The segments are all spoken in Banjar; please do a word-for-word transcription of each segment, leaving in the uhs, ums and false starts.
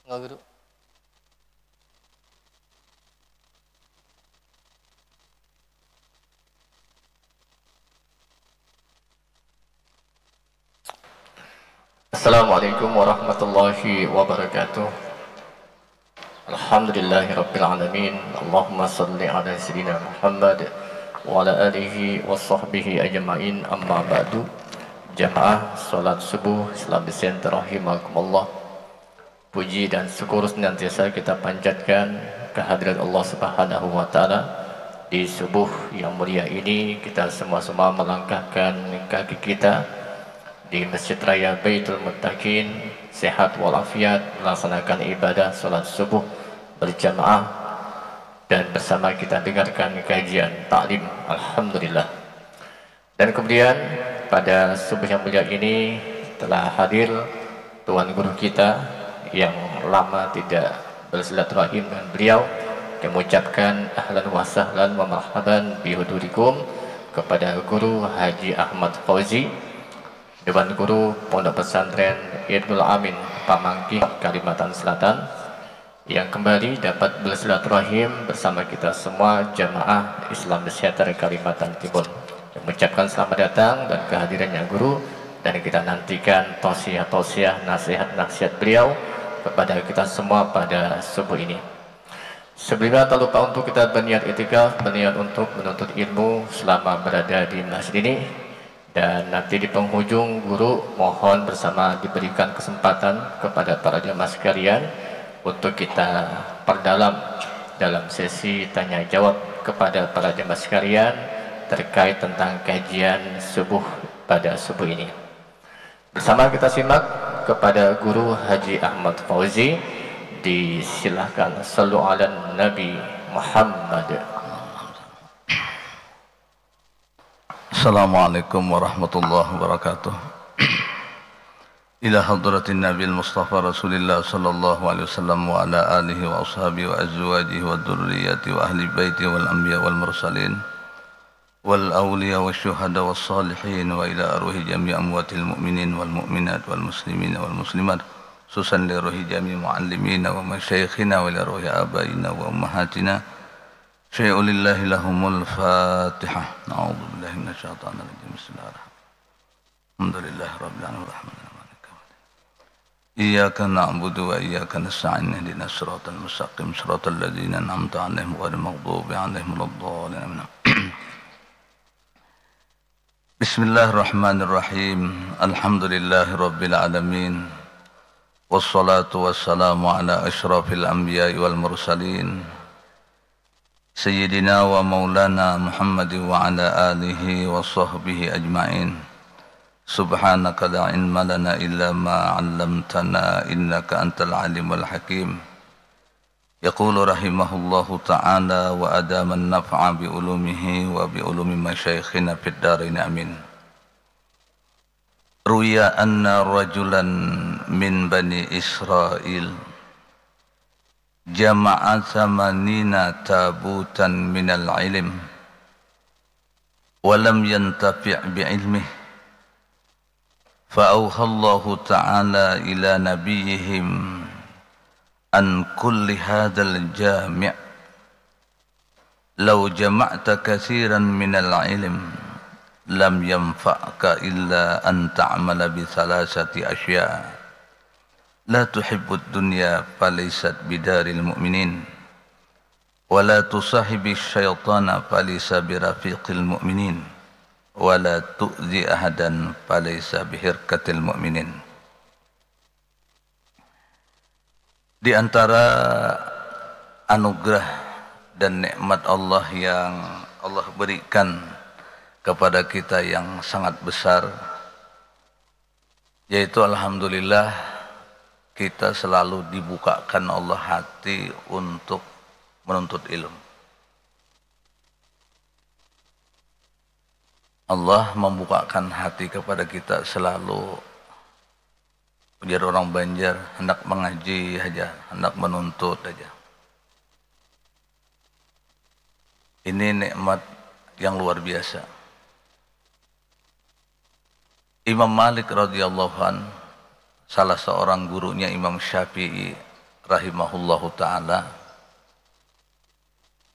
Enggak, Guru. Assalamualaikum warahmatullahi wabarakatuh. Alhamdulillahirabbil alamin. Allahumma shalli ala sayyidina Muhammad wa ala alihi wa sahbihi ajmain. Amma ba'du. Jamaah salat subuh Islam Center rahimakumullah. Puji dan syukur senantiasa kita panjatkan kehadirat Allah Subhanahu wa Ta'ala. Di subuh yang mulia ini, kita semua-semua melangkahkan kaki kita di Masjid Raya Baitul Muttaqin, sehat walafiat, melaksanakan ibadah salat subuh berjamaah dan bersama kita dengarkan kajian taklim. Alhamdulillah. Dan kemudian pada subuh yang mulia ini telah hadir Tuan Guru kita yang lama tidak bersilaturahim dengan beliau. Kami ucapkan ahlan wa sahlan wa marhaban bihudurikum kepada Guru Haji Ahmad Fauzi, Dewan Guru Pondok Pesantren Ibnul Amin, Pamangkih, Kalimantan Selatan, yang kembali dapat bersilaturahim bersama kita semua jamaah Islam Center Kalimantan Timur. Mengucapkan selamat datang dan kehadirannya Guru, dan kita nantikan tausiah-tausiah, nasihat-nasihat beliau kepada kita semua pada subuh ini. Sebelumnya, tak lupa untuk kita berniat itikaf, berniat untuk menuntut ilmu selama berada di masjid ini. Dan nanti di penghujung, Guru mohon bersama diberikan kesempatan kepada para jemaah sekalian untuk kita perdalam dalam sesi tanya jawab kepada para jemaah sekalian terkait tentang kajian subuh pada subuh ini. Bersama kita simak kepada Guru Haji Ahmad Fauzi. Disilahkan. Sallu ala Nabi Muhammad. Assalamualaikum warahmatullahi wabarakatuh. Ila hadratin Nabil Mustafa Rasulillah sallallahu alaihi wasallam wa ala alihi wa ashabihi wa azwajihi wa dzurriyyati wa ahli baiti wal anbiya wal mursalin wal awliya wa syuhada was salihin wa ila arwahi jami amwatil mu'minin wal mu'minat wal muslimin wal muslimat, khususan li ruhi jami muallimina wa masyayikhina wa ila ruhi abaina wa ummahatina. Syai'ulillahi lahumul Fatihah. A'udzu billahi minasyaitonir rajim. Bismillahirrahmanirrahim. Alhamdulillahirabbil alamin. Arrahmanirrahim. Maliki yaumiddin. Iyyaka na'budu wa iyyaka nasta'in. Ihdinas siratal mustaqim. Siratal ladzina an'amta 'alaihim ghairil maghdubi 'alaihim waladdallin. Amin. Bismillahirrahmanirrahim. Alhamdulillahirabbil alamin. Wassalatu wassalamu ala asyrafil anbiya'i wal mursalin. Sayyidina wa maulana Muhammad wa ala alihi wa sahbihi ajma'in. Subhanaka la ilma lana illa ma 'allamtana innaka antal alimul hakim. Yaqulu rahimahullahu ta'ala wa adaman naf'a bi ulumihi wa bi ulumi masyaikhina fid darain, amin. Ruya anna rajulan min Bani Israil jama'a thamanina tabutan minal ilm wa lam yantafi' bi ilmih, fa auhallahu ta'ala ila nabiyihim an kulli hadal jami', lau jama'ta kathiran minal ilm lam yanfa'ka illa an ta'mala bi thalathati asya', la tuhibbud dunya falaysat bidaril mu'minin, wa la tusahibi syaitana falaisa birafiqil mu'minin, wa la tu'zi ahadan falaisa bihirkatil mu'minin. Di antara anugerah dan nikmat Allah yang Allah berikan kepada kita yang sangat besar, yaitu alhamdulillah kita selalu dibukakan Allah hati untuk menuntut ilmu. Allah membukakan hati kepada kita selalu, ujar orang Banjar, hendak mengaji saja, hendak menuntut saja. Ini nikmat yang luar biasa. Imam Malik radhiyallahu an, salah seorang gurunya Imam Syafi'i, rahimahullahu ta'ala,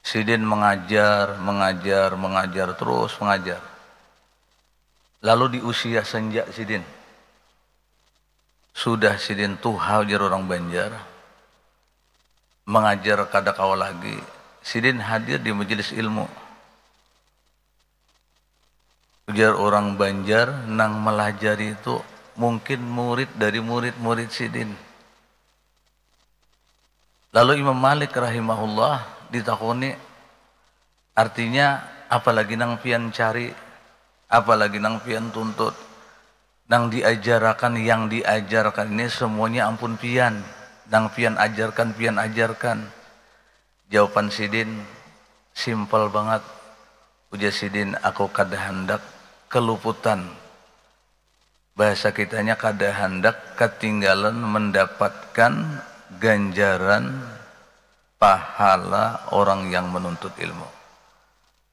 sidin mengajar, mengajar, mengajar, terus mengajar. Lalu di usia senja sidin, sudah sidin tuha, ujar orang Banjar, mengajar kada kawa lagi, sidin hadir di majelis ilmu. Ujar orang Banjar, nang melajari itu mungkin murid dari murid-murid sidin. Lalu Imam Malik rahimahullah ditakuni, artinya, apa lagi nang pian cari, apa lagi nang pian tuntut? Nang diajarakan, yang diajarkan ini semuanya ampun pian, nang pian ajarkan, pian ajarkan. Jawaban sidin simpel bangat. Ujar sidin, aku kada handak keluputan. Bahasa kitanya, kada handak ketinggalan mendapatkan ganjaran pahala orang yang menuntut ilmu.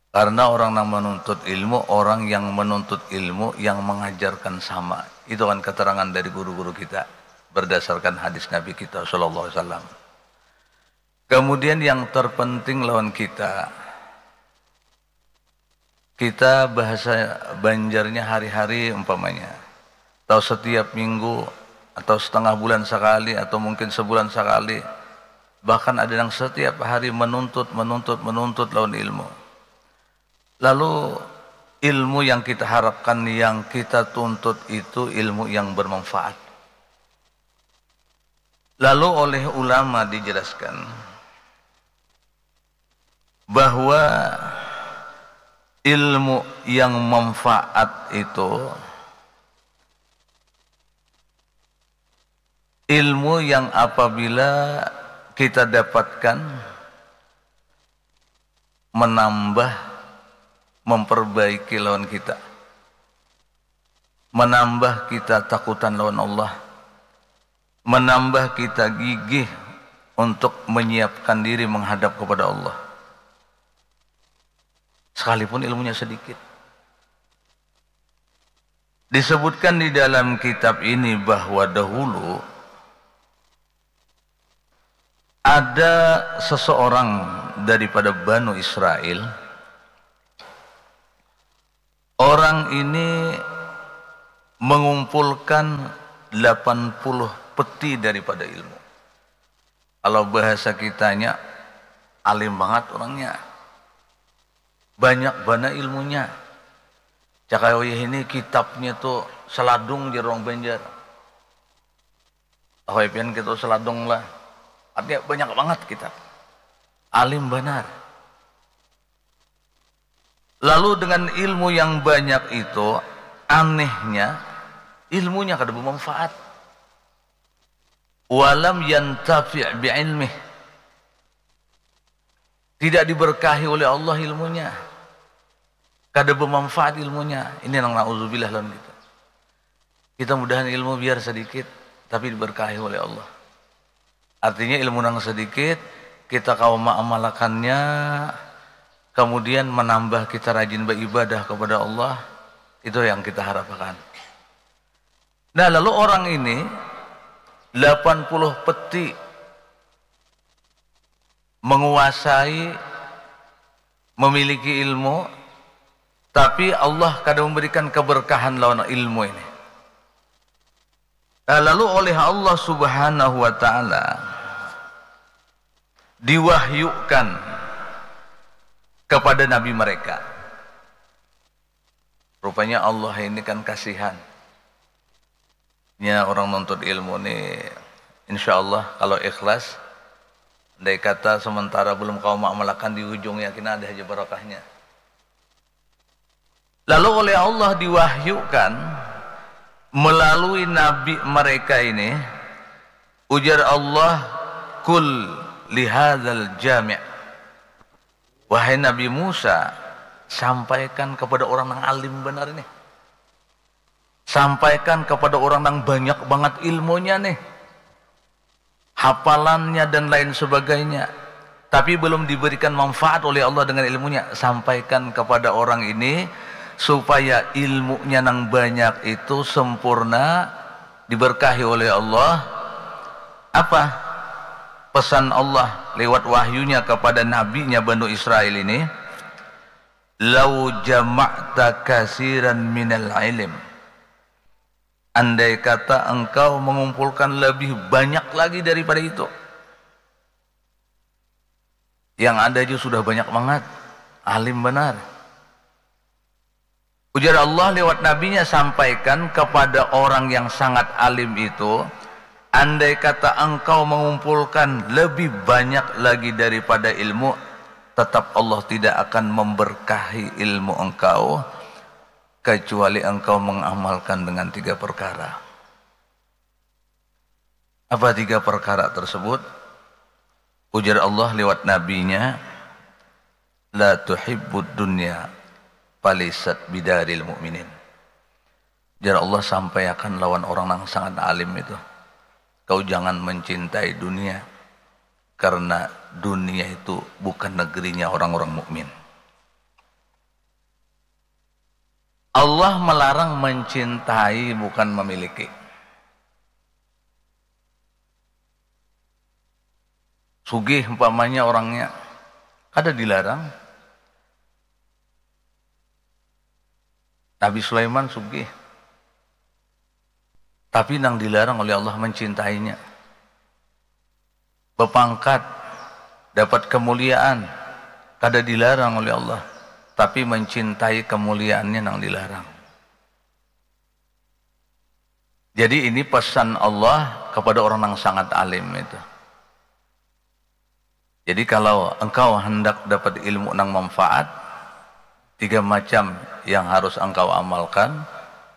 Karena orang yang menuntut ilmu, orang yang menuntut ilmu yang mengajarkan sama. Itu kan keterangan dari guru-guru kita berdasarkan hadis Nabi kita sallallahu alaihi wasallam. Kemudian yang terpenting lawan kita, kita bahasa Banjarnya hari-hari umpamanya, atau setiap minggu, atau setengah bulan sekali, atau mungkin sebulan sekali, bahkan ada yang setiap hari menuntut, menuntut, menuntut lawan ilmu. Lalu ilmu yang kita harapkan, yang kita tuntut itu ilmu yang bermanfaat. Lalu oleh ulama dijelaskan bahwa ilmu yang manfaat itu ilmu yang apabila kita dapatkan menambah, memperbaiki lawan kita, menambah kita takutan lawan Allah, menambah kita gigih untuk menyiapkan diri menghadap kepada Allah. Sekalipun ilmunya sedikit. Disebutkan di dalam kitab ini bahwa dahulu ada seseorang daripada Banu Israel. Orang ini mengumpulkan delapan puluh peti daripada ilmu. Kalau bahasa kitanya, alim banget orangnya. Banyak bana ilmunya. Cakaya wayah ini kitabnya tu seladung, jar orang Banjar. Tahu ai pian kitab seladung lah. Artinya banyak banget kitab. Alim banar. Lalu dengan ilmu yang banyak itu, anehnya, ilmunya kada bermanfaat. Walam yantafi' bi'ilmih. Tidak diberkahi oleh Allah ilmunya. Kada bermanfaat ilmunya. Ini nang na'udzubillah lawan kita. Kita mudahan ilmu biar sedikit, tapi diberkahi oleh Allah. Artinya ilmu nang sedikit, kita kawa maamalakannya, kemudian menambah kita rajin beribadah kepada Allah, itu yang kita harapkan. Nah, lalu orang ini delapan puluh peti menguasai, memiliki ilmu, tapi Allah kada memberikan keberkahan lawan ilmu ini. Nah, lalu oleh Allah Subhanahu wa Ta'ala diwahyukan kepada nabi mereka. Rupanya Allah ini kan kasihan. Nya orang nuntut ilmu ni, insya Allah kalau ikhlas, andai kata sementara belum kawa maamalakan, di ujung yakin ada haja barokahnya. Lalu oleh Allah diwahyukan melalui nabi mereka ini, ujar Allah, "Qul lihadzal jami'." Wahai Nabi Musa, sampaikan kepada orang nang alim banar ini. Sampaikan kepada orang nang banyak banget ilmunya nih. Hafalannya dan lain sebagainya. Tapi belum diberikan manfaat oleh Allah dengan ilmunya. Sampaikan kepada orang ini supaya ilmunya nang banyak itu sempurna, diberkahi oleh Allah. Apa? Pesan Allah lewat wahyunya kepada nabinya Banu Israel ini, "Lau jama'ta kasiran minal ilm." Andai kata engkau mengumpulkan lebih banyak lagi daripada itu. Yang ada aja sudah banyak banget. Alim benar. Ujar Allah lewat nabinya, "Sampaikan kepada orang yang sangat alim itu, andai kata engkau mengumpulkan lebih banyak lagi daripada ilmu, tetap Allah tidak akan memberkahi ilmu engkau, kecuali engkau mengamalkan dengan tiga perkara." Apa tiga perkara tersebut? Ujar Allah lewat nabinya, "La tuhibbud dunya falaisat bidaril mu'minin." Ujar Allah, "Sampaiakan lawan orang nang sangat alim itu, kau jangan mencintai dunia, karena dunia itu bukan negerinya orang-orang mukmin." Allah melarang mencintai, bukan memiliki. Sugih umpamanya orangnya, kada dilarang. Nabi Sulaiman sugih, tapi nang dilarang oleh Allah mencintainya. Bepangkat, dapat kemuliaan, kada dilarang oleh Allah, tapi mencintai kemuliaannya nang dilarang. Jadi ini pesan Allah kepada orang yang sangat alim itu. Jadi kalau engkau hendak dapat ilmu nang manfaat, tiga macam yang harus engkau amalkan,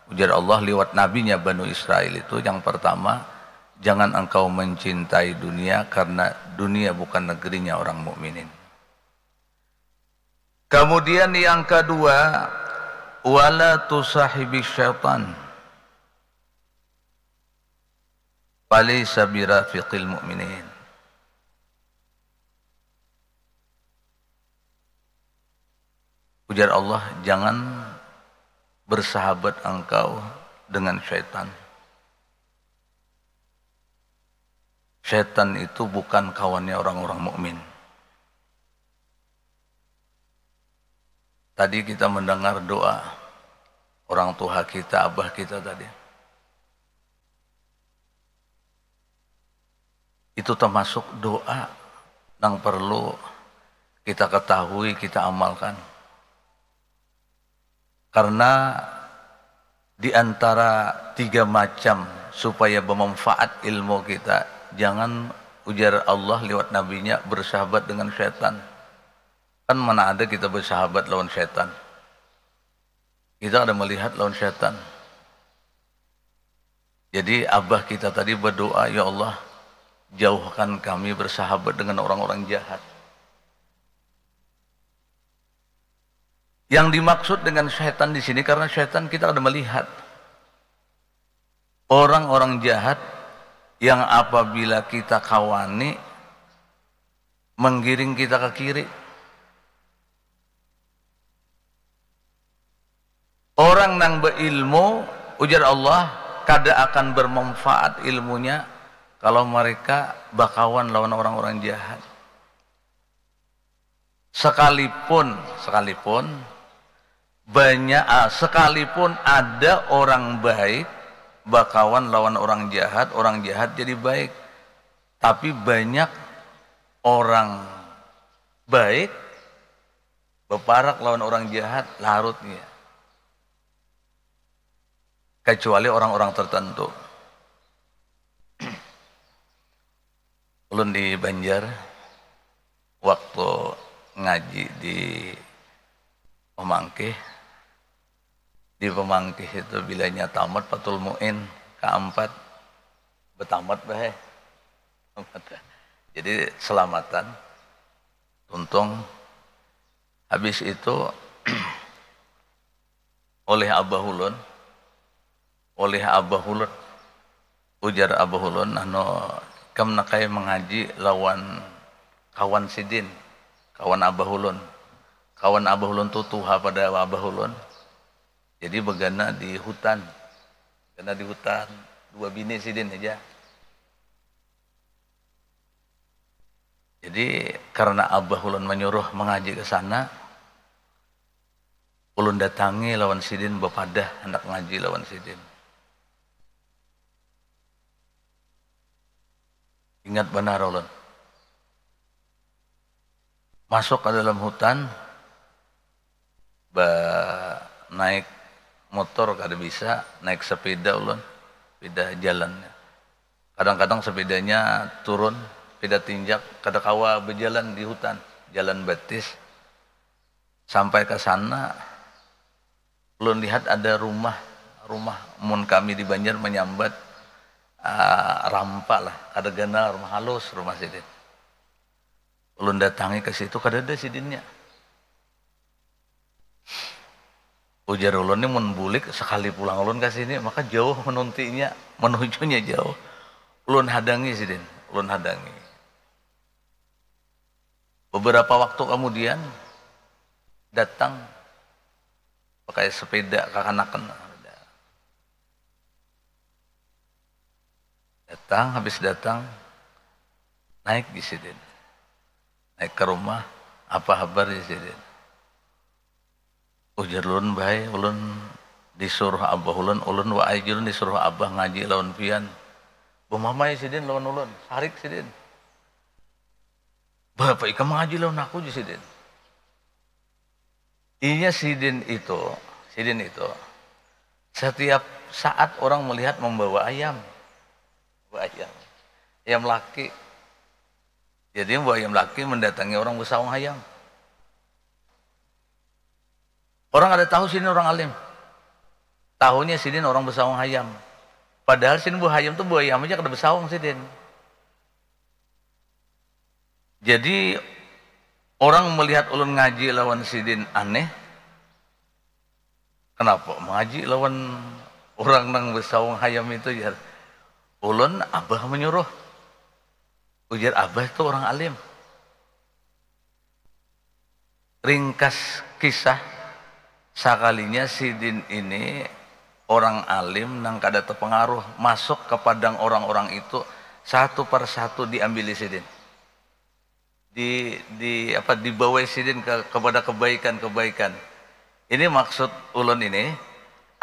ujar Allah lewat nabinya Banu Israel itu, yang pertama, jangan engkau mencintai dunia karena dunia bukan negerinya orang mukminin. Kemudian yang kedua, wala tusahibi syaitan. Falaisa birafiqil mu'minin. Ujar Allah, jangan bersahabat engkau dengan syaitan. Syaitan itu bukan kawannya orang-orang mukmin. Tadi kita mendengar doa orang tua kita, abah kita tadi. Itu termasuk doa yang perlu kita ketahui, kita amalkan. Karena di antara tiga macam supaya bermanfaat ilmu kita, jangan, ujar Allah lewat nabinya, bersahabat dengan setan. Kan mana ada kita bersahabat lawan setan. Kita ada melihat lawan setan. Jadi abah kita tadi berdoa, "Ya Allah, jauhkan kami bersahabat dengan orang-orang jahat." Yang dimaksud dengan setan di sini, karena setan kita ada melihat. Orang-orang jahat yang apabila kita kawani, menggiring kita ke kiri. Orang nang beilmu, ujar Allah, kada akan bermanfaat ilmunya kalau mereka bakawan lawan orang-orang jahat. Sekalipun, sekalipun banyak, ah, sekalipun ada orang baik bakawan lawan orang jahat, orang jahat jadi baik. Tapi banyak orang baik beparak lawan orang jahat, larutnya. Kecuali orang-orang tertentu. Ulun di Banjar, waktu ngaji di Pemangkih, di Pemangkih itu bilanya tamat Fathul Muin keempat, betamat bah, eh. Jadi selamatan, tuntung. Habis itu, oleh abah ulun, oleh abah ulun, ujar abah ulun, anu, ikam nak ai mengaji lawan kawan sidin, kawan abah ulun. Kawan abah ulun tu tuha pada abah ulun. Jadi begana di hutan. Begana di hutan, dua bini sidin aja. Jadi karena abah ulun menyuruh mengaji ke sana, ulun datangi lawan sidin, bepadah hendak ngaji lawan sidin. Ingat banar ulun. Masuk ke dalam hutan, ba naik motor kada bisa, naik sepeda ulun, sepeda jalannya. Kadang-kadang sepedanya turun, sepeda tinjak, kada kawa berjalan di hutan, jalan batis. Sampai ke sana, ulun lihat ada rumah, rumah mun kami di Banjar menyambat uh, rampa lah, kada ganal, rumah halus rumah sidin. Ulun datangi ke situ, kada ada sidinnya. Ujar ulun ni, mun bulik sekali pulang ulun ke sini, maka jauh menuntinya, menujunya jauh. Ulun hadangi sidin, ulun hadangi. Beberapa waktu kemudian datang pakai sepeda kakanakan. Datang, habis datang, naik di sidin. Naik ke rumah, apa habar di sidin? Ujar ulun, bahai, ulun disuruh abah ulun, ulun waai ulun disuruh abah ngaji lawan pian. Bemamai sidin lawan ulun, sarik sidin. Bapak ikam ngaji lawan aku, ji sidin. Inya sidin itu, sidin itu setiap saat orang melihat membawa ayam. Membawa ayam. Ayam laki. Jadi membawa ayam laki mendatangi orang besaung hayam. Orang ada tahu sidin orang alim. Tahunya sidin orang besaung hayam. Padahal sidin buah hayam tuh buah ayam aja kada besaung sidin. Jadi orang melihat ulun ngaji lawan sidin aneh. Kenapa mengaji lawan orang nang besaung hayam itu, jar. Ulun abah menyuruh. Ujar abah itu orang alim. Ringkas kisah, sakalinya sidin ini orang alim nang kada terpengaruh, masuk ke padang orang-orang itu, satu per satu diambili sidin. Di, di apa, dibawai sidin ke, kepada kebaikan-kebaikan. Ini maksud ulun ini,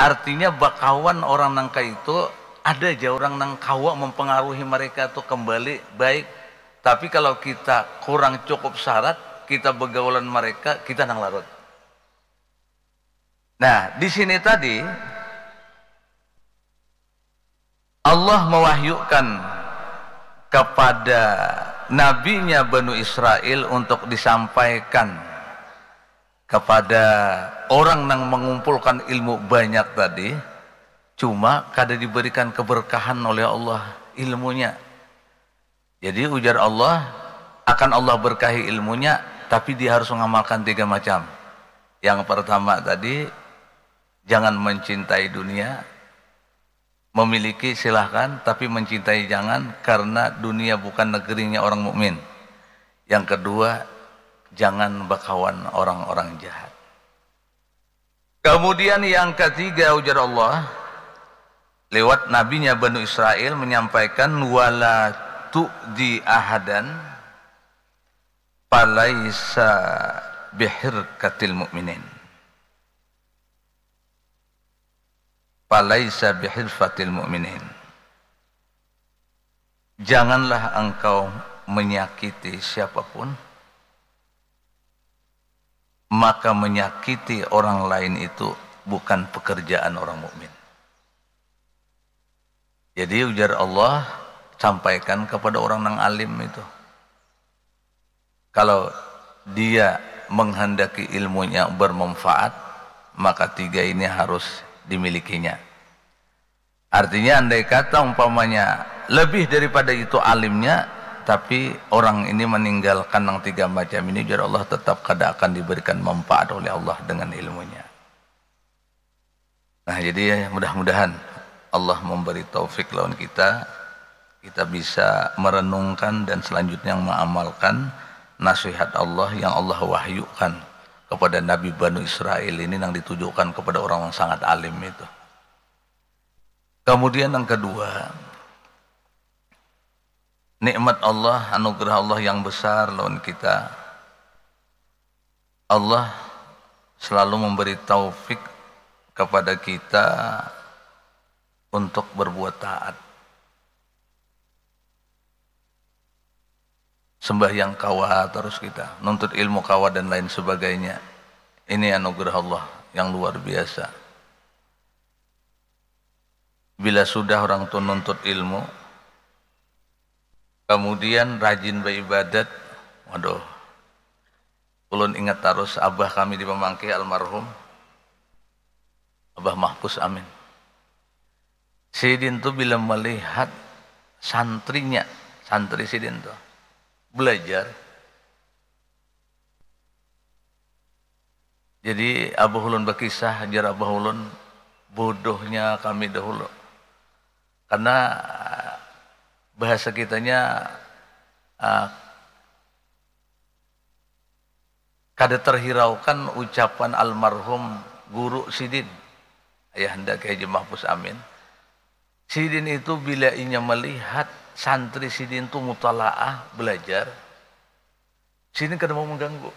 artinya bakawan orang nang kaitu ada ja orang nang kawa mempengaruhi mereka tu kembali baik. Tapi kalau kita kurang cukup syarat, kita begaulan mereka, kita nang larut. Nah, di sini tadi Allah mewahyukan kepada nabinya Banu Israel untuk disampaikan kepada orang nang mengumpulkan ilmu banyak tadi, cuma kada diberikan keberkahan oleh Allah ilmunya. Jadi ujar Allah, akan Allah berkahi ilmunya, tapi dia harus mengamalkan tiga macam. Yang pertama tadi, jangan mencintai dunia, memiliki silahkan, tapi mencintai jangan, karena dunia bukan negerinya orang mukmin. Yang kedua, jangan bakawan orang-orang jahat. Kemudian yang ketiga, ujar Allah lewat nabinya Banu Israel menyampaikan, wala tu'di ahadan falaisa bihirkatil mu'minin. Falaisa bihirfatil mu'minin. Janganlah engkau menyakiti siapapun, maka menyakiti orang lain itu bukan pekerjaan orang mukmin. Jadi ujar Allah, sampaikan kepada orang nang alim itu. Kalau dia menghendaki ilmunya bermanfaat, maka tiga ini harus dimilikinya. Artinya, andai kata umpamanya lebih daripada itu alimnya, tapi orang ini meninggalkan yang tiga macam ini, ujar Allah, tetap kada akan diberikan manfaat oleh Allah dengan ilmunya. Nah, jadi mudah-mudahan Allah memberi taufik lawan kita, kita bisa merenungkan dan selanjutnya mengamalkan nasihat Allah yang Allah wahyukan kepada Nabi Banu Israel ini, yang ditujukan kepada orang yang sangat alim itu. Kemudian yang kedua, Nikmat Allah, anugerah Allah yang besar lawan kita. Allah selalu memberi taufik kepada kita untuk berbuat taat. Sembahyang kawa terus kita, nuntut ilmu kawa dan lain sebagainya. Ini anugerah Allah yang luar biasa. Bila sudah orang tu nuntut ilmu, kemudian rajin beribadat, waduh, ulun ingat terus abah kami di Pamangkih, almarhum Abah Mahpus Amin. Sidin tu bila melihat santrinya, santri sidin tu belajar, jadi abah ulun bakisah, jar abah ulun, bodohnya kami dahulu. Karena bahasa kitanya, ah, kada terhiraukan ucapan almarhum guru sidin, Ayahanda Kiai Haji Mahpus Amin. Sidin itu bila inya melihat santri sidin tu mutalaah, belajar, sidin kada mau mengganggu.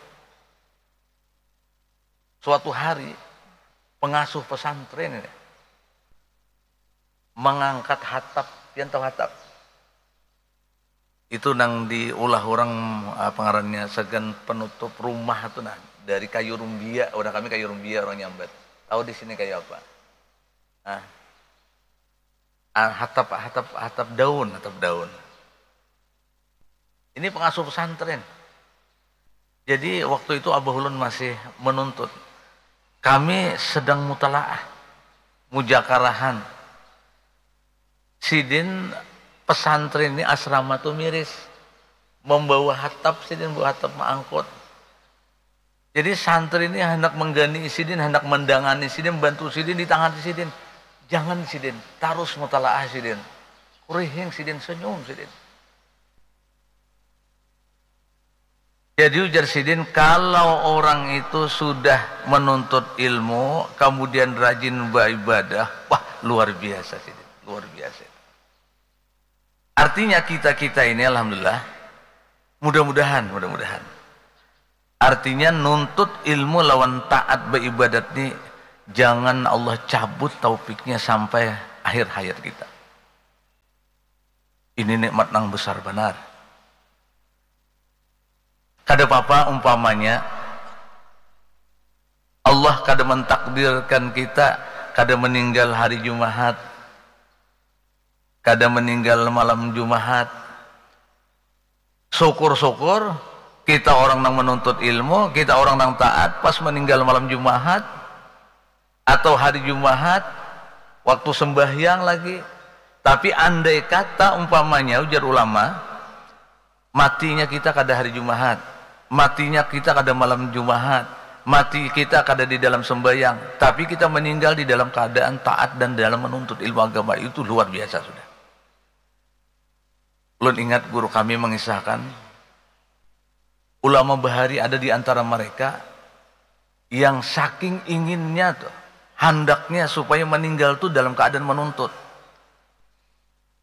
Suatu hari, pengasuh pesantren ini mengangkat hatap, pian tahu hatap? Itu nang diulah orang, apa ngarannya, sagan penutup rumah tu nah, dari kayu rumbia, orang kami kayu rumbia orang nyambat. Tahu di sini kayu apa? Nah, ah, hatap, hatap, hatap daun, hatap daun. Ini pengasuh pesantren. Jadi waktu itu abah ulun masih menuntut. Kami sedang mutalaah, mujakarahan. Sidin pesantren ini, asrama tu miris. Membawa hatap, sidin bawa hatap maangkut. Jadi santri ini hendak menggani sidin, hendak mendangani sidin, membantu sidin, ditangani sidin. Jangan sidin, tarus mutalaah sidin. Kurihing sidin, senyum sidin. Jadi ujar sidin, kalau orang itu sudah menuntut ilmu, kemudian rajin beribadah, wah, luar biasa sidin, luar biasa. Artinya kita-kita ini, alhamdulillah, mudah-mudahan, mudah-mudahan. Artinya nuntut ilmu lawan taat beribadat ni, jangan Allah cabut taufiknya sampai akhir hayat kita. Ini nikmat nang besar banar. Kada papa umpamanya Allah kada mentakdirkan kita kada meninggal hari Jumahat, kada meninggal malam Jumahat. Syukur-syukur kita orang nang menuntut ilmu, kita orang nang taat, pas meninggal malam Jumahat atau hari Jumahat, waktu sembahyang lagi. Tapi andai kata umpamanya, ujar ulama, matinya kita kada hari Jumahat, matinya kita kada malam Jumahat, mati kita kada di dalam sembahyang, tapi kita meninggal di dalam keadaan taat dan dalam menuntut ilmu agama, itu luar biasa sudah. Ulun ingat guru kami mengisahkan, ulama bahari ada di antara mereka yang saking inginnya tuh, handaknya supaya meninggal tuh dalam keadaan menuntut.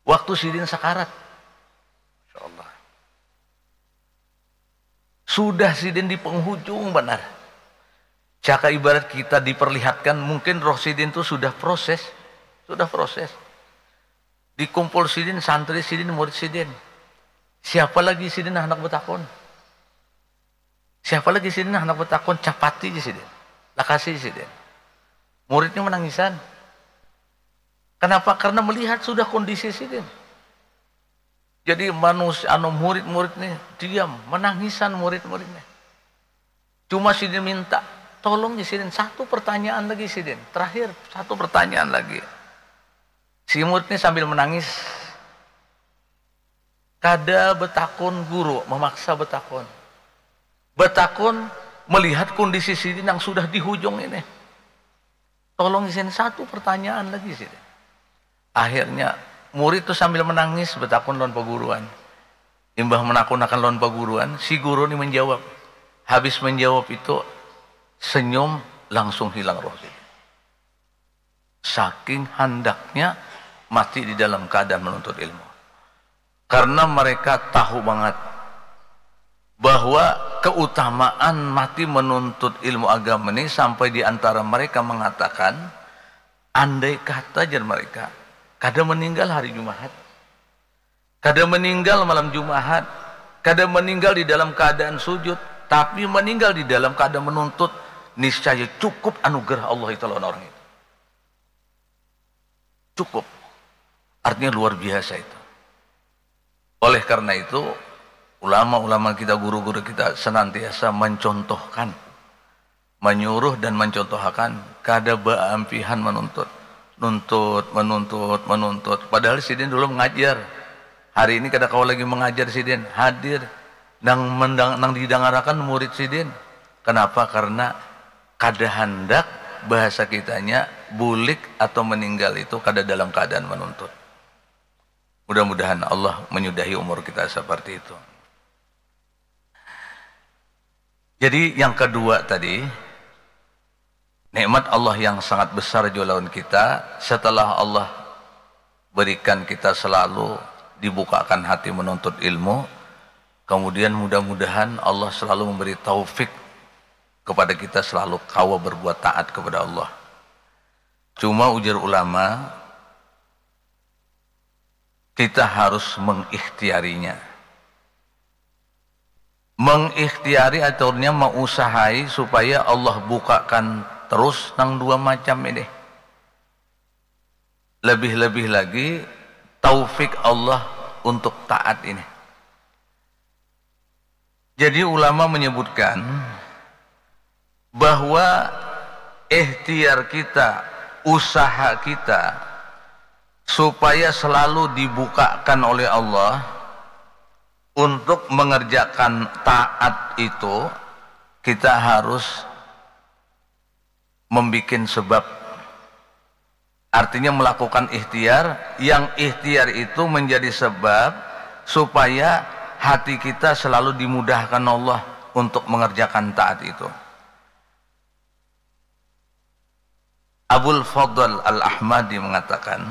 Waktu sidin sakarat, Masya Allah, sudah sidin di penghujung benar. Caka ibarat kita diperlihatkan, mungkin roh sidin tuh sudah proses, sudah proses. Dikumpul sidin, santri sidin, murid sidin. Siapa lagi sidin handak betakun? Siapa lagi sidin handak betakun? Capati aja sidin. Lakasi sidin. Muridnya menangisan. Kenapa? Karena melihat sudah kondisi sidin. Jadi manusia, anu, murid-murid nih diam, menangisan murid-murid nih. Cuma sidin minta, tolong ya sidin, satu pertanyaan lagi sidin. Terakhir, satu pertanyaan lagi. Si murid nih sambil menangis. Kada betakun guru, memaksa betakun. Betakun melihat kondisi sidin yang sudah di hujung ini. Tolong izin satu pertanyaan lagi sidin. Akhirnya murid tuh sambil menangis betakun lawan paguruan. Imbah menakun akan lawan paguruan, si guru ini menjawab. Habis menjawab itu, senyum langsung hilang roh sidin. Saking handaknya mati di dalam keadaan menuntut ilmu. Karena mereka tahu banget bahwa keutamaan mati menuntut ilmu agama ini sampai di antara mereka mengatakan, andai kata, jar mereka, kada meninggal hari Jumahat, kada meninggal malam Jumahat, kada meninggal di dalam keadaan sujud, tapi meninggal di dalam keadaan menuntut, niscaya cukup anugerah Allah itu lawan orang itu. Cukup. Artinya luar biasa itu. Oleh karena itu, ulama-ulama kita, guru-guru kita senantiasa mencontohkan, menyuruh dan mencontohakan, kada baampihan menuntut, nuntut, menuntut, menuntut. Padahal sidin dulu mengajar. Hari ini kada kawa lagi mengajar sidin, hadir. Nang mendang, nang didangarakan murid sidin. Kenapa? Karena kada handak, bahasa kitanya, bulik atau meninggal itu kada dalam keadaan menuntut. Mudah-mudahan Allah menyudahi umur kita seperti itu. Jadi yang kedua tadi, nikmat Allah yang sangat besar jua lawan kita, setelah Allah berikan kita selalu dibukakan hati menuntut ilmu, kemudian mudah-mudahan Allah selalu memberi taufik kepada kita selalu kawa berbuat taat kepada Allah. Cuma ujar ulama, kita harus mengikhtiarinya. Mengikhtiari aturnya, meusahai supaya Allah bukakan terus nang dua macam ini. Lebih-lebih lagi taufik Allah untuk taat ini. Jadi ulama menyebutkan bahwa ikhtiar kita, usaha kita supaya selalu dibukakan oleh Allah untuk mengerjakan taat itu, kita harus membuat sebab. Artinya melakukan ikhtiar, yang ikhtiar itu menjadi sebab supaya hati kita selalu dimudahkan Allah untuk mengerjakan taat itu. Abul Fadl Al-Ahmadi mengatakan,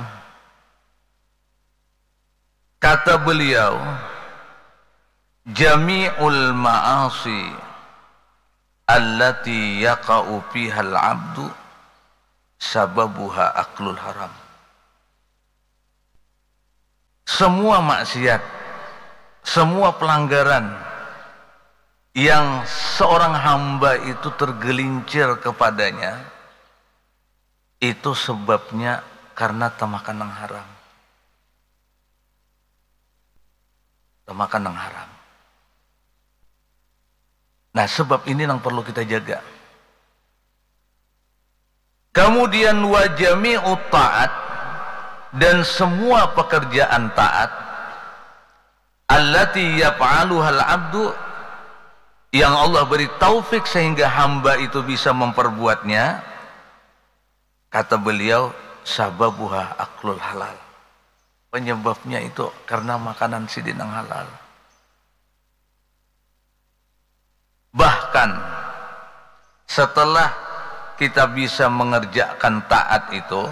kata beliau, jami'ul ma'asi allati yaqa'u fihal abdu sababuha aklul haram. Semua maksiat, semua pelanggaran yang seorang hamba itu tergelincir kepadanya, itu sebabnya karena tamakan nang haram. Tamakan nang haram. Nah, sebab ini yang perlu kita jaga. Kemudian, wa jami'u taat, dan semua pekerjaan taat, allati yaf'aluhal abdu, yang Allah beri taufik sehingga hamba itu bisa memperbuatnya, kata beliau, sababuha aklul halal. Penyebabnya itu karena makanan sidin yang halal. Bahkan setelah kita bisa mengerjakan taat itu,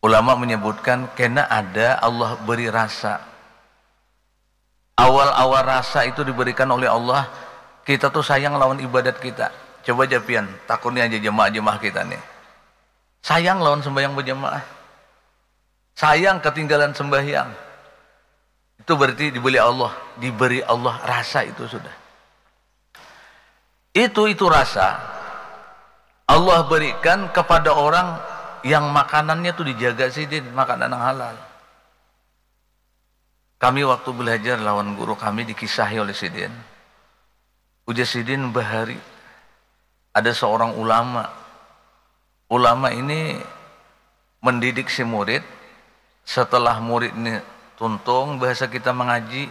ulama menyebutkan kena ada Allah beri rasa. Awal-awal rasa itu diberikan oleh Allah, kita tuh sayang lawan ibadat kita. Coba ja pian, takuni aja jemaah-jemaah kita nih. Sayang lawan sembahyang berjamaah. Sayang ketinggalan sembahyang. Itu berarti diberi Allah, diberi Allah rasa itu sudah. Itu, itu rasa Allah berikan kepada orang yang makanannya tuh dijaga sidin, makanan yang halal. Kami waktu belajar lawan guru kami dikisahi oleh sidin. Ujar sidin bahari ada seorang ulama. Ulama ini mendidik si murid, setelah murid ini tuntung bahasa kita mengaji,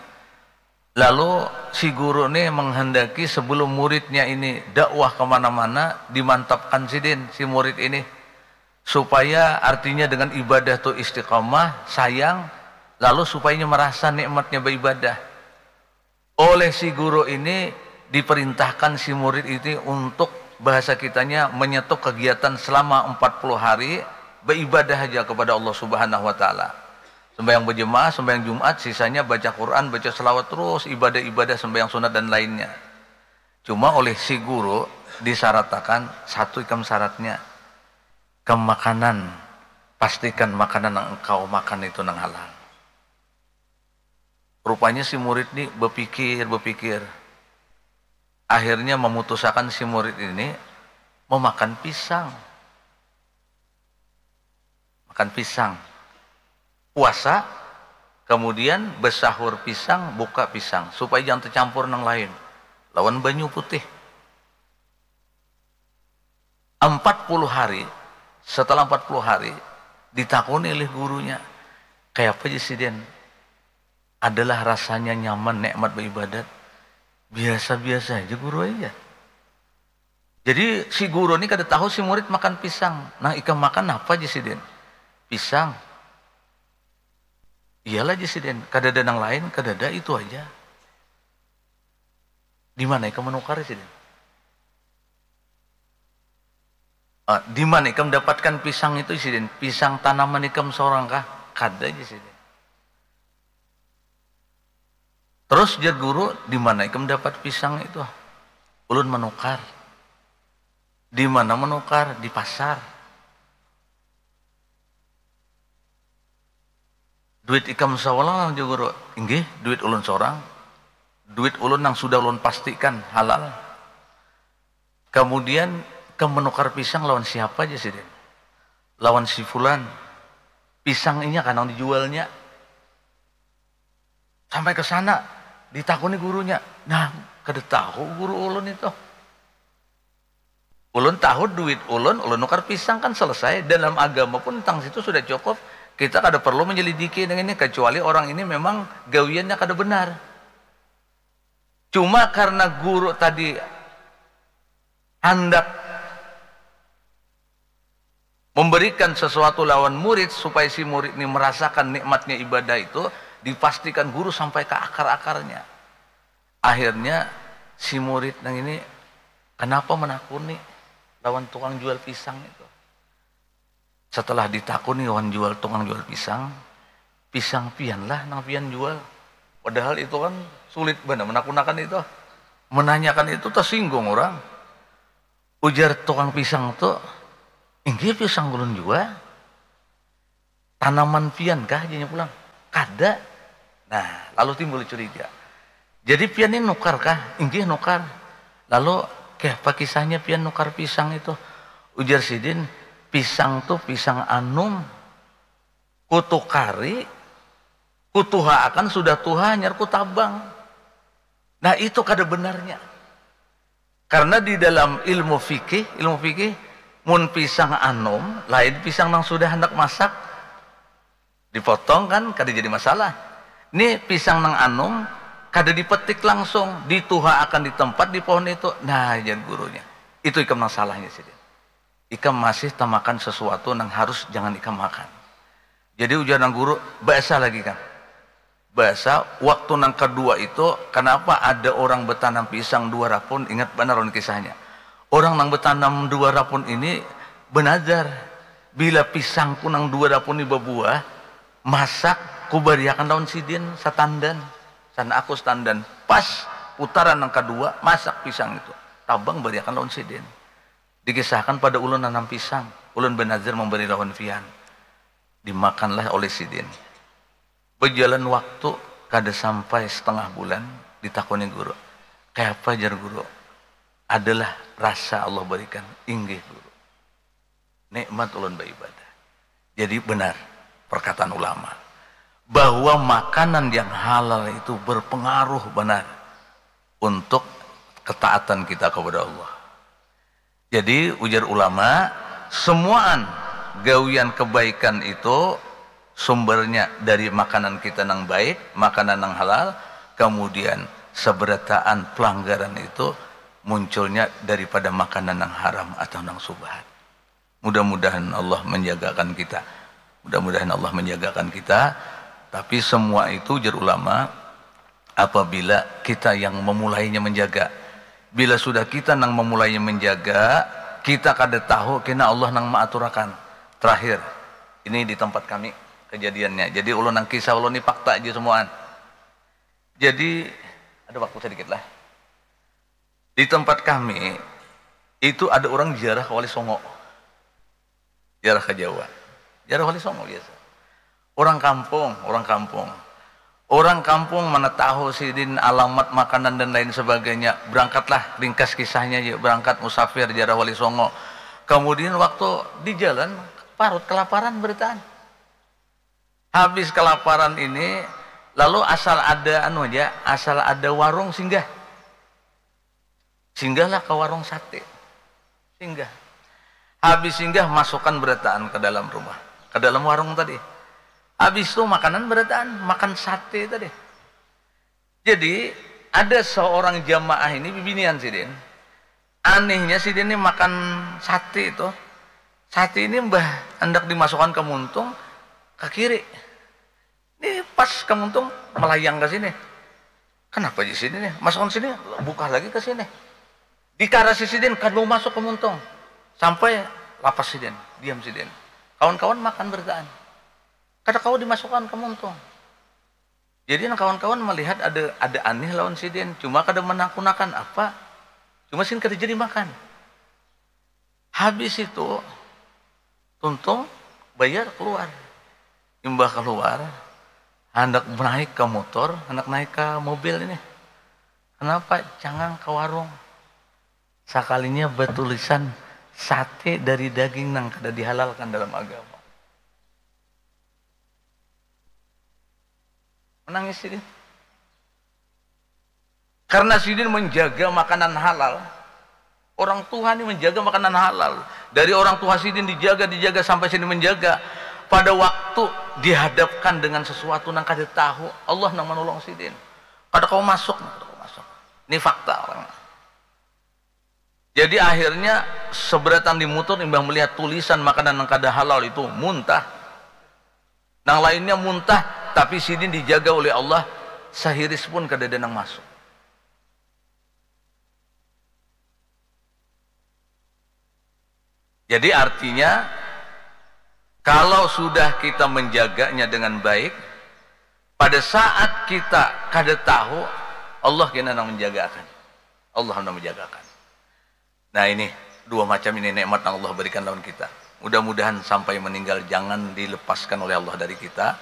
lalu si guru ini menghendaki sebelum muridnya ini dakwah kemana-mana, dimantapkan sidin si murid ini supaya artinya dengan ibadah tu istiqamah, sayang, lalu supaya merasa nikmatnya beribadah. Oleh si guru ini diperintahkan si murid ini untuk bahasa kitanya menyetuk kegiatan selama empat puluh hari beribadah aja kepada Allah Subhanahu wa taala. Sembahyang berjemaah, sembahyang Jumat, sisanya baca Quran, baca selawat terus, ibadah-ibadah, sembahyang sunat dan lainnya. Cuma oleh si guru disaratakan, satu ikam syaratnya, kemakanan, pastikan makanan yang engkau makan itu nang halal. Rupanya si murid ni bepikir-bepikir. Akhirnya memutusakan si murid ini memakan pisang. Makan pisang. Puasa, kemudian besahur pisang, buka pisang. Supaya jangan tercampur nang lain. Lawan banyu putih. Empat puluh hari, setelah empat puluh hari, ditakuni oleh gurunya, "Kayapa ja sidin? Adalah rasanya nyaman, nikmat beribadat?" "Biasa-biasa aja, guru aja." Jadi si guru ni kada tahu si murid makan pisang. "Nah, ikam makan apa ja sidin?" "Pisang." "Iyalah ja sidin, kada ada nang lain, kada ada, itu aja." "Di mana ikam menukar sidin?" "Ah, di mana ikam dapatkan pisang itu sidin? Pisang tanaman ikam seorang kah?" "Kada ja sidin." "Terus," jar guru, "di mana ikam dapat pisang itu?" "Ulun menukar." "Di mana menukar?" "Di pasar." "Duit ikam seorang?" jar guru. "Inggih, duit ulun seorang. Duit ulun nang sudah ulun pastikan halal." "Kemudian, ikam menukar pisang lawan siapa ja sidin?" "Lawan si fulan." "Pisang inya kah nang dijualnya?" Sampai ke sana, ditakuni gurunya. "Nah, kada tahu guru ulun itu. Ulun tahu duit ulun, ulun nukar pisang kan selesai." Dalam agama pun tentang situ sudah cukup. Kita kada perlu menyelidiki yang ini, kecuali orang ini memang gawiannya kada benar. Cuma karena guru tadi handak memberikan sesuatu lawan murid supaya si murid ini merasakan nikmatnya ibadah itu, dipastikan guru sampai ke akar-akarnya. Akhirnya si murid nang ini kenapa menakuni lawan tukang jual pisang itu. Setelah ditakuni lawan jual, tukang jual pisang, "Pisang pian lah nang pian jual." Padahal itu kan sulit banar menakunakan itu. Menanyakan itu tersinggung orang. Ujar tukang pisang tu, "Inggih, pisang ulun jua." "Tanaman pian kah?" janya pulang. "Kada." Nah, lalu timbul curiga. "Jadi pian ni nukar kah?" "Inggih, nukar." "Lalu, kayapa kisahnya pian nukar pisang itu?" Ujar sidin, "Pisang tu pisang anum. Kutukari, kutuhaakan sudah tuha, hanyar kutabang." Nah, itu kada benarnya. Karena di dalam ilmu fikih, ilmu fikih, mun pisang anum, lain pisang nang sudah handak masak, dipotong kan, kada jadi masalah. Ni pisang nang anum, kada dipetik langsung, dituhaakan di tempat di pohon itu. Nah, jar gurunya, "Itu ikam nang salahnya sidin. Ikam masih tamakan sesuatu nang harus jangan ikam makan." Jadi ujar nang guru, "Bahasa lagi kan. Bahasa waktu nang kedua itu, kenapa ada orang betanam pisang dua rapun?" Ingat banar lawan kisahnya. Orang nang betanam dua rapun ini benazar, "Bila pisangku nang dua rapun ini bebuah, masak, kubariakan lawan sidin satandan. Sana aku satandan." Pas putaran nang kedua, masak pisang itu. "Tabang, bariakan lawan sidin. Dikisahkan pada ulun nanam pisang, ulun benazar memberi lawan pian." Dimakanlah oleh sidin. Berjalan waktu, kada sampai setengah bulan, ditakuni guru. "Kayapa?" jar guru. "Adalah rasa Allah berikan." "Inggih, guru. Nikmat ulun beribadah." Jadi benar perkataan ulama bahwa makanan yang halal itu berpengaruh benar untuk ketaatan kita kepada Allah. Jadi, ujar ulama, semuaan gawian kebaikan itu sumbernya dari makanan kita nang baik, makanan nang halal, kemudian seberataan pelanggaran itu munculnya daripada makanan nang haram atau nang subhat. Mudah-mudahan Allah menjagakan kita. Mudah-mudahan Allah menjagakan kita. Tapi semua itu, ujar ulama, apabila kita yang memulainya menjaga. Bila sudah kita nang memulainya menjaga, kita kada tahu kena Allah nang maaturakan. Terakhir, ini di tempat kami, kejadiannya. Jadi ulun nang kisah ulun ni fakta aja semuaan. Jadi ada waktu sedikit lah. Di tempat kami itu ada orang ziarah ke Wali Songo. Ziarah ke Jawa. Ziarah Wali Songo biasa. Orang kampung, orang kampung. Orang kampung mana tahu sidin alamat makanan dan lain sebagainya. Berangkatlah, ringkas kisahnya ya, berangkat musafir ziarah Wali Songo. Kemudian waktu di jalan parut kelaparan beritaan. Habis kelaparan ini, lalu asal ada anu aja, asal ada warung singgah. Singgahlah ke warung sate. Singgah. Habis singgah, masukkan berataan ke dalam rumah, ke dalam warung tadi. Habis itu makanan berataan, makan sate tadi. Jadi ada seorang jamaah ini bibinian sidin. Anehnya sidin ini makan sate itu. Sate ini mbah hendak dimasukkan ke muntung, ke kiri. Ini pas ke muntung melayang ke sini. Kenapa di sini nih? Masukkan sini, buka lagi ke sini. Dikarasi sidin, kada mau masuk ke muntung. Sampai lapas sidin, diam sidin. Kawan-kawan makan berataan. Kada kawa dimasukkan ke muntung. Jadi nang kawan-kawan melihat ada ada aneh lawan sidin, cuma kada menakunakan apa. Cuma sidin kada jadi makan. Habis itu tuntung bayar keluar. Imbah keluar, hendak naik ke motor, hendak naik ke mobil ini. Kenapa jangan ke warung? Sakalinya batulisan sate dari daging nang kada dihalalkan dalam agama. Menangis sidin. Karena sidin menjaga makanan halal. Orang tua ini menjaga makanan halal. Dari orang tua sidin dijaga, dijaga sampai sidin menjaga. Pada waktu dihadapkan dengan sesuatu nang kada tahu, Allah nang menolong sidin. Kada kau masuk, kada kau masuk. Ini fakta orang. Jadi akhirnya seberatan di mutur imbah melihat tulisan makanan yang kada halal itu muntah. Nang lainnya muntah, tapi sidin dijaga oleh Allah, sehiris pun kada ada nang masuk. Jadi artinya kalau sudah kita menjaganya dengan baik, pada saat kita kada tahu, Allah kena nang menjagakan. Allah nang menjagakan. Nah ini dua macam ini nikmat yang Allah berikan lawan kita. Mudah-mudahan sampai meninggal jangan dilepaskan oleh Allah dari kita.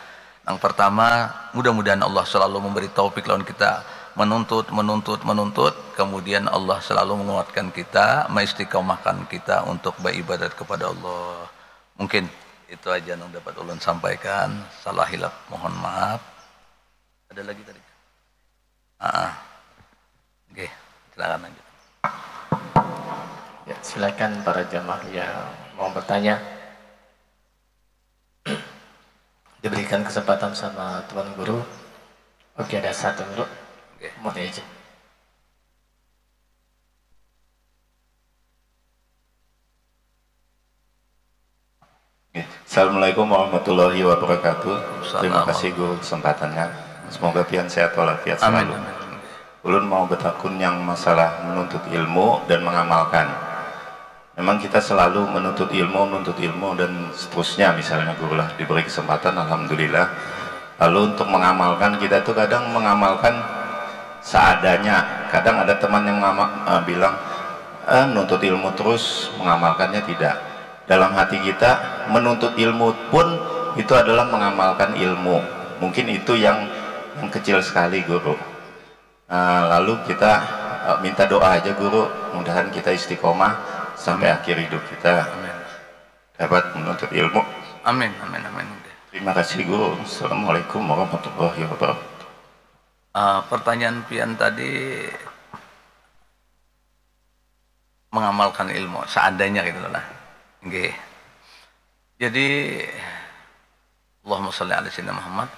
Yang pertama, mudah-mudahan Allah selalu memberi taufik lawan kita menuntut, menuntut, menuntut. Kemudian Allah selalu menguatkan kita, maistiqomahkan kita untuk beribadat kepada Allah. Mungkin itu aja yang dapat ulun sampaikan. Salah hilap mohon maaf. Ada lagi tadi? Ah, oke, silakan lanjut. Ya, silakan para jamaah yang mau bertanya. Diberikan kesempatan sama Tuan Guru. Oke, ada satu dulu. Oke. Mau aja. Assalamualaikum warahmatullahi wabarakatuh. Terima kasih guru kesempatannya. Semoga pian sehat walafiat selalu. Ulun mau betakun yang masalah menuntut ilmu dan mengamalkan. Memang kita selalu menuntut ilmu, menuntut ilmu dan seterusnya misalnya guru lah diberi kesempatan alhamdulillah. Lalu untuk mengamalkan kita tuh kadang mengamalkan seadanya. Kadang ada teman yang ngama, uh, bilang eh, nuntut ilmu terus mengamalkannya tidak. Dalam hati kita menuntut ilmu pun itu adalah mengamalkan ilmu. Mungkin itu yang yang kecil sekali guru. Nah, lalu kita uh, minta doa aja guru, mudahan kita istiqomah sampai akhir hidup kita dapat menuntut ilmu. Amin, amin, amin. Terima kasih guru. Assalamualaikum warahmatullahi wabarakatuh. Uh, pertanyaan pian tadi mengamalkan ilmu seadanya gitu lah. Nggih. Jadi Allahumma shalli ala sayyidina Muhammad.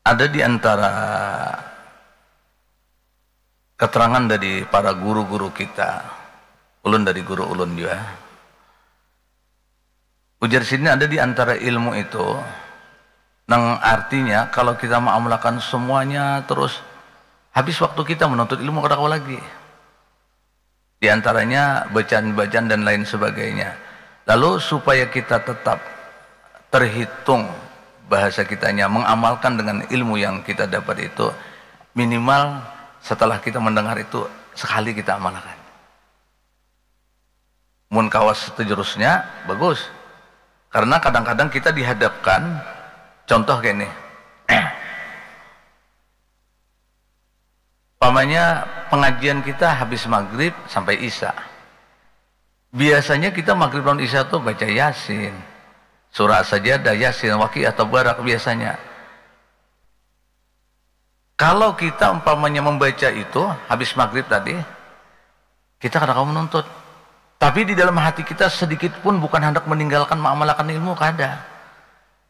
Ada di antara keterangan dari para guru-guru kita, ulun dari guru ulun juga. Ujar sidin ada di antara ilmu itu nang artinya kalau kita mengamalkan semuanya terus habis waktu kita menuntut ilmu kada kawa lagi. Di antaranya bacaan-bacaan dan lain sebagainya. Lalu supaya kita tetap terhitung bahasa kitanya mengamalkan dengan ilmu yang kita dapat itu, minimal setelah kita mendengar itu sekali kita amalkan. Mun kawas seterusnya, bagus. Karena kadang-kadang kita dihadapkan, contoh kayak ini. Pamannya pengajian kita habis maghrib sampai isya. Biasanya kita maghrib lawan isya tuh baca Yasin, surah Sajadah, Yasin, Waqiah, Tabarak biasanya. Kalau kita umpamanya membaca itu habis maghrib tadi, kita kada kawa menuntut. Tapi di dalam hati kita sedikit pun bukan hendak meninggalkan mengamalkan ilmu, kada.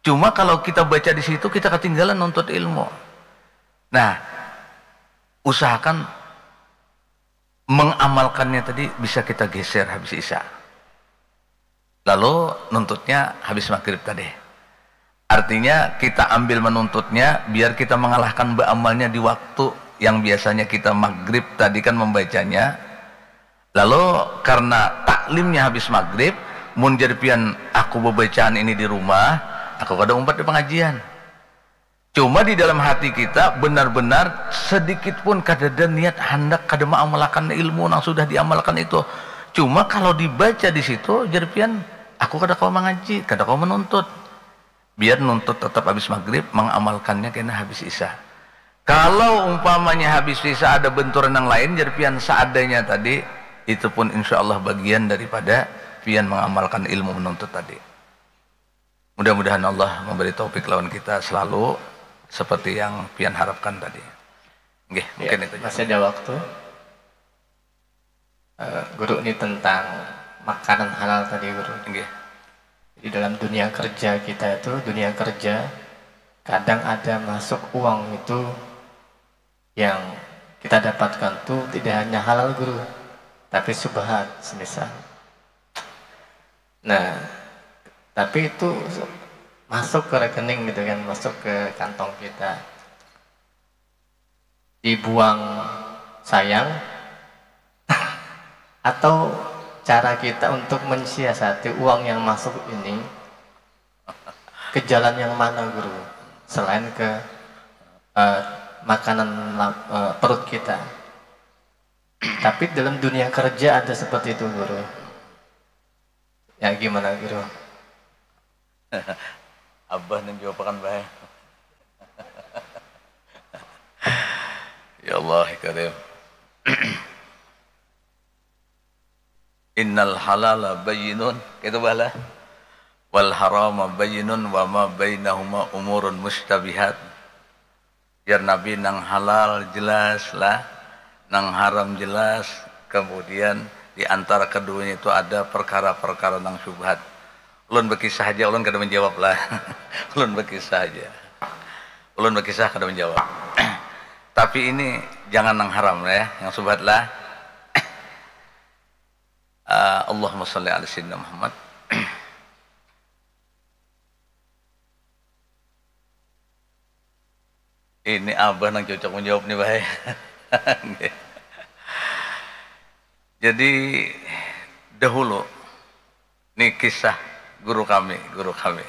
Cuma kalau kita baca di situ, kita ketinggalan nuntut ilmu. Nah, usahakan mengamalkannya tadi bisa kita geser habis isya. Lalu nuntutnya habis maghrib tadi. Artinya kita ambil menuntutnya biar kita mengalahkan beamalnya di waktu yang biasanya kita maghrib tadi kan membacanya. Lalu karena taklimnya habis maghrib, mun jadi pian aku bebacaan ini di rumah, aku kada umpat di pengajian. Cuma di dalam hati kita benar-benar sedikit pun kadada niat handak kada mengamalkan ilmu nang sudah diamalkan itu. Cuma kalau dibaca di situ, jar pian, aku kada kawa mangaji, kada kawa menuntut. Biar nuntut tetap habis maghrib, mengamalkannya kena habis isya. Kalau umpamanya habis isya ada benturan yang lain, jar pian, seadanya tadi, itu pun insya Allah bagian daripada pian mengamalkan ilmu menuntut tadi. Mudah-mudahan Allah memberi taufik lawan kita selalu seperti yang pian harapkan tadi. Nggih, ya, mungkin itu. Masih ada waktu. Eh, guru, ini tentang makanan halal tadi, guru. Nggih. Di dalam dunia kerja kita itu, dunia kerja, kadang ada masuk uang itu yang kita dapatkan tuh tidak hanya halal, guru, tapi subhat semisal. Nah, tapi itu masuk ke rekening gitu kan, masuk ke kantong kita. Dibuang sayang atau cara kita untuk mensiasati uang yang masuk ini ke jalan yang mana, guru? Selain ke, eh, makanan la-, eh, perut kita. Tapi dalam dunia kerja ada seperti itu, guru. Ya, gimana, guru? Abah nang jawabakan bae. Ya Allah, ya Karim. Innal halala bayyinun, kaitu bah lah. Wal harama bayyinun wa ma bainahuma umurun mustabihat. Jar Nabi, nang halal jelas lah, nang haram jelas, kemudian di antara keduanya itu ada perkara-perkara nang syubhat. Ulun bekisah haja, ulun kada menjawab lah. Ulun bekisah haja. Ulun bekisah kada menjawab. Tapi ini jangan nang haram lah ya, yang syubhat lah. Ah, Allahumma shalli ala sayyidina Muhammad. Ini abah nang cocok menjawab nih, bahaya. Jadi, dahulu, nih kisah guru kami, guru kami.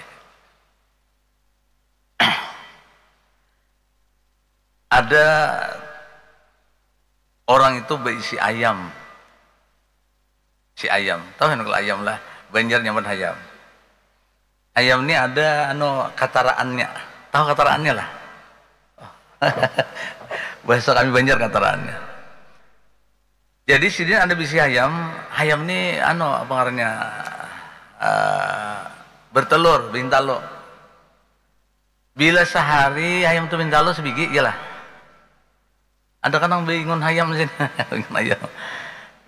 Ada orang itu berisi ayam. Si ayam. Tahu kan kalau ayam lah? Banjar nyaman hayam. Ayam ni ada, anu, kataraannya. Tahu kataraannya lah? Bahasa kami Banjar kataraannya. Jadi sidin ada bisi hayam, hayam ni, anu, apa ngarannya, eh, bertelur, bintalo. Bila sehari hayam tu bintalo sebigi, iyalah. Ada kan nang bingun hayam sini, bingun hayam.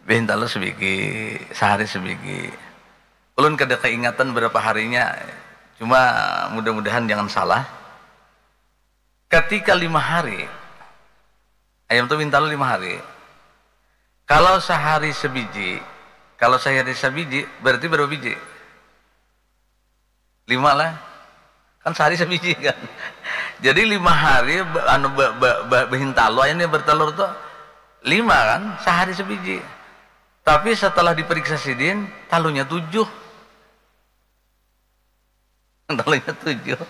Bintalo sebigi, sehari sebigi. Ulun kada keingatan berapa harinya, cuma mudah-mudahan jangan salah. Ketika lima hari, ayam tu bintalo lima hari. Kalau sehari sebiji, kalau sehari sebiji, berarti berapa biji? Lima lah. Kan sehari sebiji kan. Jadi lima hari be-, anu, be-, be-, be-, behintalo ayam ni bertelur tu lima kan, sehari sebiji. Tapi setelah diperiksa sidin, talunya tujuh. Talunya tujuh.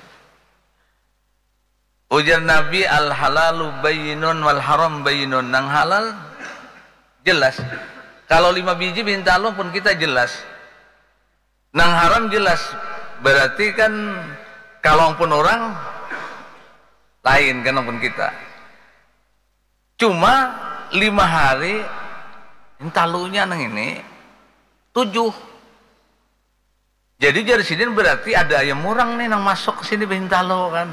Ujar Nabi, "Al-halalu bayyinun wal haram bayyinun." Nang halal jelas. Kalau lima biji bintalo pun kita jelas. Nang haram jelas. Berarti kan kalau pun orang lain kan pun kita. Cuma lima hari, hintalunya nang ini tujuh. Jadi jar sidin berarti ada ayam urang nih nang masuk ke sini bahintalo kan.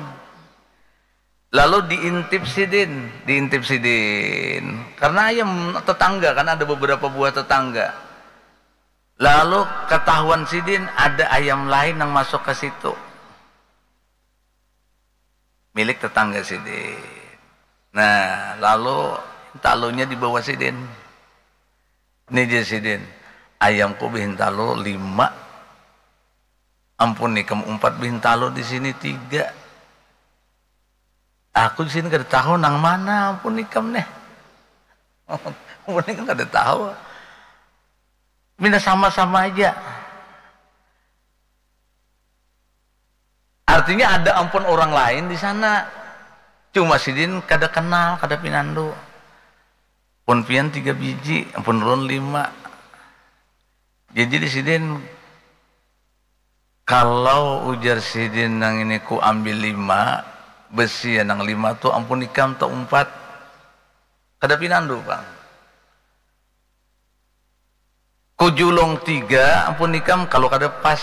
Lalu diintip sidin, diintip sidin. Karena ayam tetangga kan ada beberapa buah tetangga. Lalu ketahuan sidin ada ayam lain nang masuk ke situ. Milik tetangga sidin. Nah, lalu talunya dibawa sidin. Ini jar sidin, ayamku bahintalo lima. Ampun ikam umpat bahintalo di sini tiga. Aku di sini kada tahu nang mana ampun ikam nih. Ampun ikam kada tahu. Mina sama-sama aja. Artinya ada ampun orang lain di sana. Cuma sidin kada kenal, kada pinandu. Pun pian tiga biji, pun ulun lima. Jadi di sidin, kalau ujar sidin nang ini ku ambil lima, besi ya nang lima tu ampun ikam tak umpat. Kada pinandu pang. Kujulung tiga, ampun ikam kalau kada pas.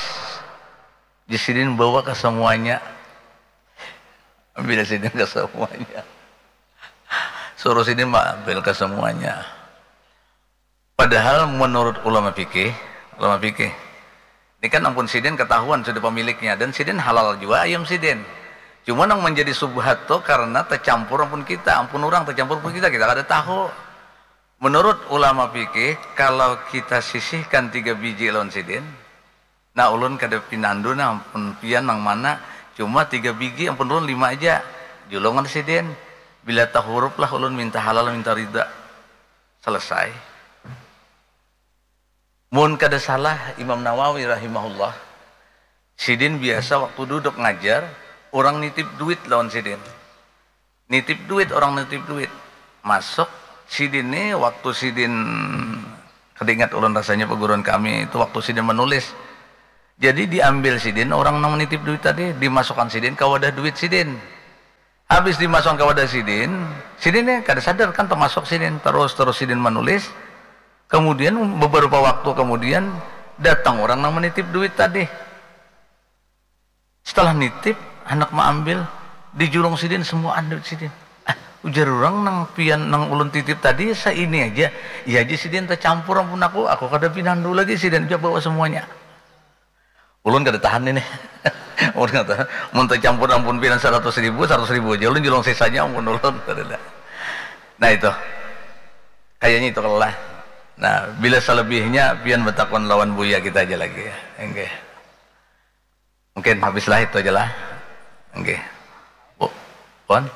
Di sidin bawa ke semuanya. Ambil sidin ke semuanya. Suruh sidin ambil ke semuanya. Padahal menurut ulama fikih, ulama fikih, ini kan ampun sidin ketahuan sudah pemiliknya dan sidin halal juga ayam sidin. Cuma yang menjadi subhat tuh karena tercampur ampun kita, ampun orang tercampur pun kita, kita kada tahu. Menurut ulama fikih, kalau kita sisihkan tiga biji lawan sidin, nah ulun kada pinandu nah ampun pian nang mana, cuma tiga biji ampun ulun lima aja, julungan sidin, bila tahurup lah ulun minta halal minta rida, selesai. Mun kada salah Imam Nawawi rahimahullah, sidin biasa waktu duduk ngajar, orang nitip duit lawan sidin. Nitip duit, orang nitip duit. Masuk, sidin ni waktu sidin, kada ingat ulun rasanya perguruan kami itu waktu sidin menulis. Jadi diambil sidin orang nang menitip duit tadi, dimasukkan sidin ke wadah duit sidin. Habis dimasukkan ke wadah sidin, sidin ni kada sadar kan termasuk sidin, terus terus sidin menulis. Kemudian beberapa waktu kemudian datang orang nang menitip duit tadi. Setelah nitip, handak maambil, dijulung sidin semuaan duit sidin. Ah, ujar urang nang pian nang ulun titip tadi saini aja. Iya aja sidin tacampur ampun aku, aku kada pinandu lagi sidin ja bawa semuanya. Ulun kada tahan ini. Ulun kada tahan. Mun tacampur ampun pian saratus ribu, saratus ribu aja ulun julung sisanya ampun ulun. Nah itu. Kayaknya itu lah. Nah, bila selebihnya pian batakun lawan buya kita aja lagi ya. Enggak. Mungkin habislah itu aja lah. Oke. Bu, Puan?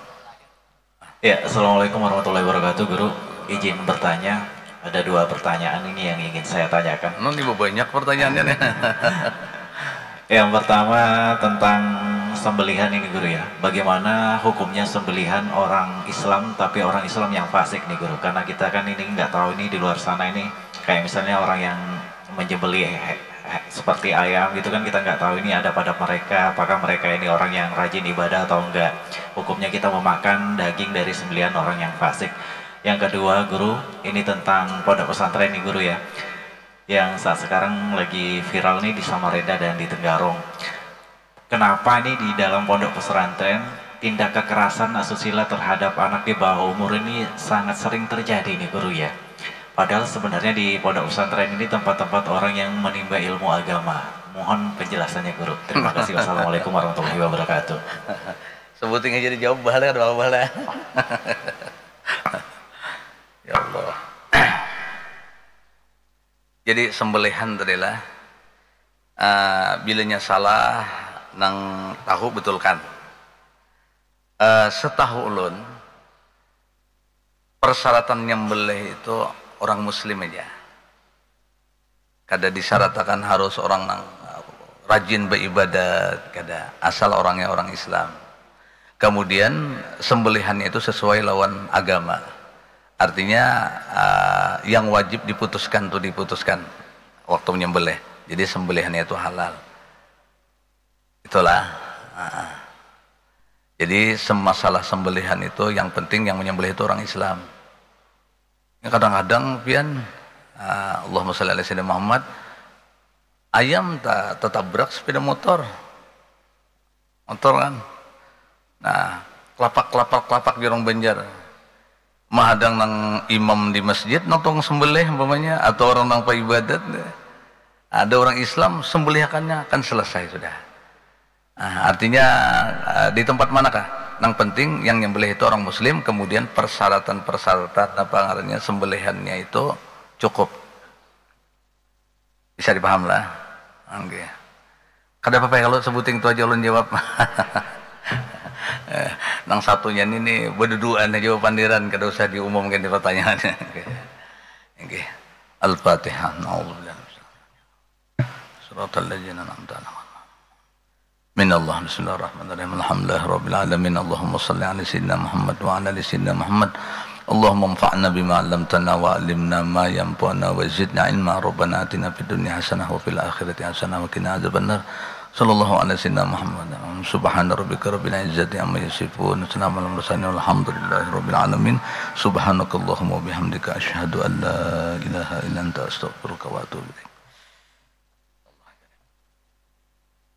Ya, Assalamualaikum warahmatullahi wabarakatuh, Guru. Izin bertanya, ada dua pertanyaan ini yang ingin saya tanyakan. Nun, ibu banyak pertanyaannya nih. Yang pertama tentang sembelihan ini, Guru, ya. Bagaimana hukumnya sembelihan orang Islam tapi orang Islam yang fasik nih, Guru? Karena kita kan ini nggak tahu ini di luar sana ini, kayak misalnya orang yang menyembelih seperti ayam gitu kan, kita nggak tahu ini ada pada mereka, apakah mereka ini orang yang rajin ibadah atau enggak. Hukumnya kita memakan daging dari sembelihan orang yang fasik. Yang kedua, Guru, ini tentang pondok pesantren nih, Guru, ya. Yang saat sekarang lagi viral nih di Samarinda dan di Tenggarong. Kenapa nih di dalam pondok pesantren tindak kekerasan asusila terhadap anak di bawah umur ini sangat sering terjadi nih, Guru, ya? Padahal sebenarnya di pondok pesantren ini tempat-tempat orang yang menimba ilmu agama. Mohon penjelasannya, Guru. Terima kasih. Wassalamualaikum warahmatullahi wabarakatuh. Sebuting aja dijawab, bahala kada apa-apa lah. Ya Allah. Jadi sembelihan tadi lah, uh, bilanya salah nang tahu betulkan. Uh, setahu ulun, persyaratan nyembelih itu orang muslim aja. Kada disaratakan harus orang nang uh, rajin beribadat, kada, asal orangnya orang Islam. Kemudian sembelihannya itu sesuai lawan agama. Artinya uh, yang wajib diputuskan tuh diputuskan waktu menyembelih. Jadi sembelihannya itu halal. Itulah. Uh. Jadi masalah sembelihan itu yang penting yang menyembelih itu orang Islam. Ya, kadang-kadang pian uh, Allahumma sholli ala sayyidina Muhammad ayam tak tertabrak sepeda motor. Motor kan. Nah, kelapak-kelapak kelapak di orang Banjar. Mahadang nang imam di masjid nang tukang sembelih umpamanya atau orang nang paibadat. Ada orang Islam sembelihakannya kan selesai sudah. Nah, artinya uh, di tempat manakah? Nang penting yang nyembelih itu orang muslim, kemudian persyaratan-persyaratan apa ngarannya sembelihannya itu cukup. Bisa dipaham lah. Oke. Kada apa-apa ya kalau sebuting itu aja ulun jawab. Eh, nang satunya ini nih berduduan aja pandiran kada usah diumumkan di pertanyaannya. Oke. Oke. Al-Fatihah. Nauzubillah. Siratal ladzina an'amta alaihim. Minallah, bismillahirrahmanirrahim. Alhamdulillahirabbil alamin. Allahumma shalli ala sayyidina Muhammad wa ala ali sayyidina Muhammad. Allahumma anfa'na bima 'allamtana wa 'allimna ma yanfa'una wa zidna ilma. Rabbana atina fid dunya hasanah wa fil akhirati hasanah wa qina adzabannar. Sallallahu ala sayyidina Muhammad. Subhana rabbika rabbil izzati amma yasifun. Salamun alal mursalin walhamdulillahi rabbil alamin. Subhanakallahumma wa bihamdika asyhadu an la ilaha illa anta astaghfiruka wa atubu ilaik.